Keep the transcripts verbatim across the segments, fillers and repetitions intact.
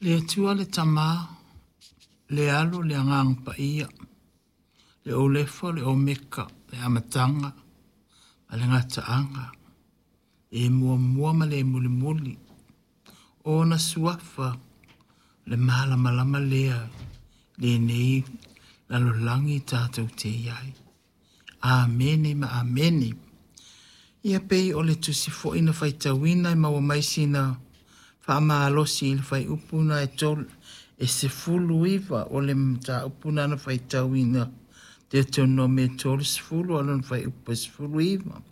Le Atua le Tamā, le Alo, le Agaga Paia, le Olefa, le Omeka, le Amataga ma le Gataaga, e muamua ma le mulimuli. O ona suafa le malamalama lea lenei lalolagi tatou te i ai. Amene ma amene. Ia pei o le tusi foi na faitauina e maua mai sina faamalosi i le fuaiupu na e tolu e sefulu iva o le mataupu na na faitauina Deuteronome tolu sefulu a o lona fuaiupu e sefulu iva.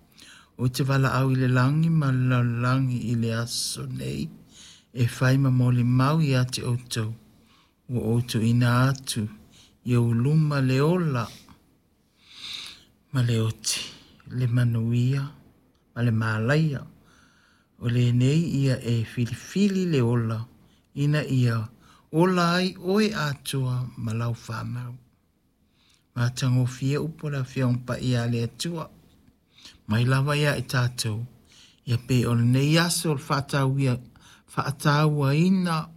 Ou te valaau i le lagi ma le lalolagi i le aso nei e fai ma molimau ia te outou ua ou tuuina atu i ou luma le ola ma le oti, le manuia ma le malaia. O lenei ia e filifili le ola ina ia ola ai oe atoa ma lau whanau. Matagofie upu o le Afioga Paia a le Atua. Mai lava ia i tatou. Ia pei o lenei aso o le faatauia, faatauaina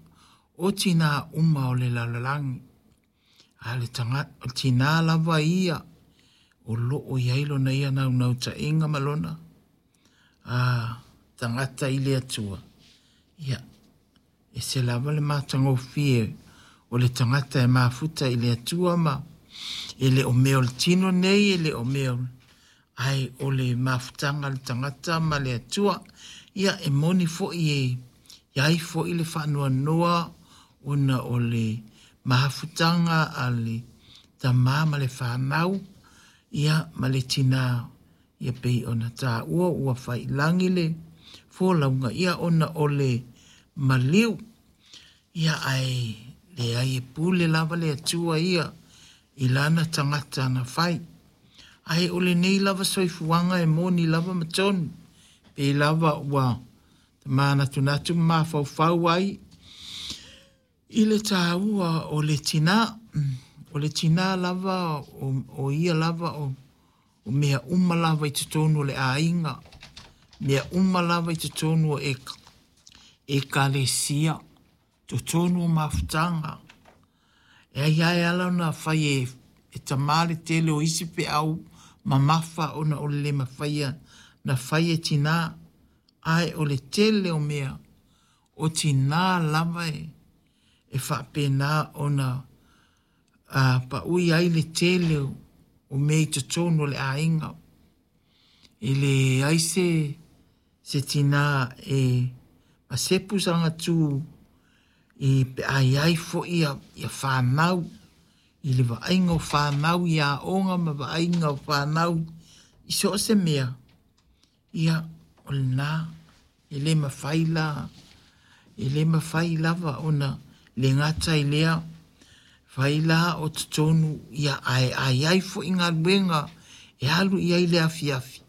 o tinā uma o le lalolagi. A le tagata, o tinā lava ia o loo i ai lona ia naunautaiga ma lona a tagata i le Atua. Ia, e se lava le matagofie o le tagata e mafuta i le Atua ma e le o mea o le tino nei, e le o mea o ae o le mafutaga a le tagata ma le Atua. Ia e moni foi e i ai foi le faanoanoa ona o le mafutaga a le tamā ma le whanau, ia ma le tinā, ia pei ona tāua ua faiilagi le folauga, ia ona o le maliu. Ia ae leai e pule lava le Atua ia i lana tagata na fai. Ae o lenei lava soifuaga e moni lava ma tonu. Pei lava ua manatunatu ma mafaufau ai i le tāua o le tinā. O le tinā lava o, o ia lava o, o mea uma lava i totonu o le aiga. Mea uma lava i totonu o e, ekalesia. Totonu o mafutaga. E ai ae ala ona fai e, e tamā le tele o isi feau mamafa ona o le le mafaia na fai e tinā. Ae o le tele o mea o tinā lava e, e faapena ona a, paui ai le tele o, o mea i totonu o le aiga. E leai se, se tinā e masepu sana tū i pe a iai foi ia, ia whanau, i le vaaiga o whanau i aoga ma vaaiga o whanau i so o se mea. Ia, o lena, e le mawhai la, e le mawhai lava ona le gata i lea, fai la o totonu, ia ae ai ai foi galuega e alu i ai le afiafi.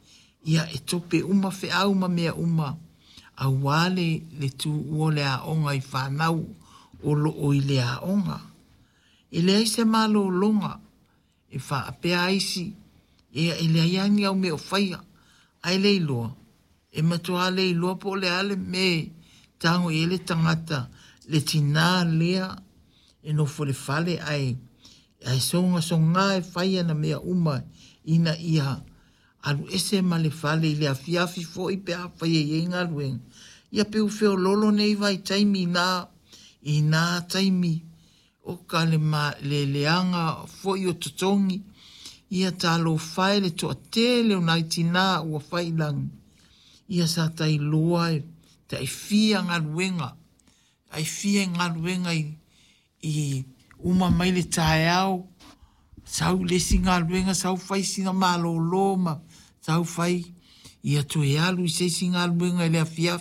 Ia e tope uma feau ma mea uma, auā le, le tuua o le aoga i whanau o loo i le aoga. E leai se malologa e faapea ai isi, ia e leai lava ni au mea o faia, ae le iloa, e matuā le iloa po o le a le mea e tago i ai le tagata, le tinā lea e nofo i le fale ae, ae sogasogā e fai ana mea uma ina ia alu ese ma le fale i le afiafi foi pe afai e i ai galuega. Ia pe ua feoloolo nei vaitaimi i nā, i nā taimi o ka le, ma, le leaga foi o totogi. Ia talofa e le toatele o nai tinā ua faiilagi. Ia sa tailoa e taifia galuega, taifia galuega i, i uma mai le taeao, sau le isi galuega, sau fai sina malōlō ma sau fai, ia toe alu i se isi galuega i le afiafi.